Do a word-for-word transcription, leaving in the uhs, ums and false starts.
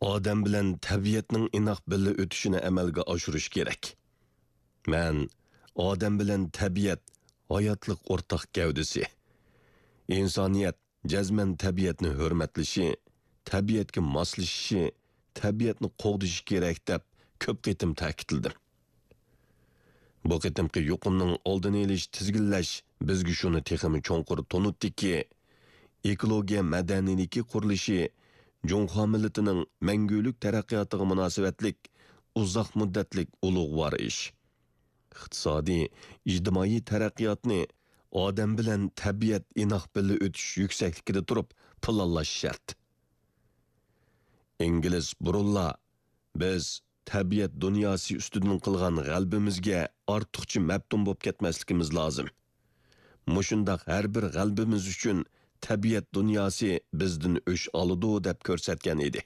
ئادەم بىلەن تەبىئەتنىڭ ئىناق بىللە ئۆتۈشىنى ئەمەلگە ئاشۇرۇش كېرەك. مەن ئادەم بىلەن تەبىئەت ھاياتلىق ئورتاق گەۋدىسى. ئىنسانىيەت جەزمەن تەبىئەتنى ھۆرمەتلىشى، تەبىئەتكە ماسلىشىشى، تەبىئەتنى قوغدىشى كېرەك دەپ كۆپ قېتىم تەكىتلىدىم. بۇ قېتىمقى يۇقۇمنىڭ ئالدىنى ئېلىش، تىزگىنلەش بىزگە شۇنى تېخىمۇ چوڭقۇر تونۇتتىكى، ئېكولوگىيە مەدەنىيلىكى قۇرۇلۇشى جۇڭخۇا مىللىتىنىڭ مەڭگۈلۈك تەرەققىياتىغا مۇناسىۋەتلىك ئۇزاق مۇددەتلىك ئۇلۇغۋار ئىش. ئىقتىسادىي، ئىجتىمائىي تەرەققىياتنى ئادەم بىلەن تەبىئەت ئىناق بىللە ئۆتۈش يۈكسەكلىكىدە تۇرۇپ پىلانلاش شەرت. ئىنگلىز بۇرۇنلا، بىز تەبىئەت دۇنياسى ئۈستىدىن قىلغان غەلىبىمىزگە ئارتۇقچە مەپتۇن بولۇپ كەتمەسلىكىمىز لازىم. مۇشۇنداق ھەر بىر غەلىبىمىز ئۈچۈن تەبىئەت دۇنياسى بىزدىن ئۆچ ئالىدۇ دەپ كۆرسەتكەن ئىدى.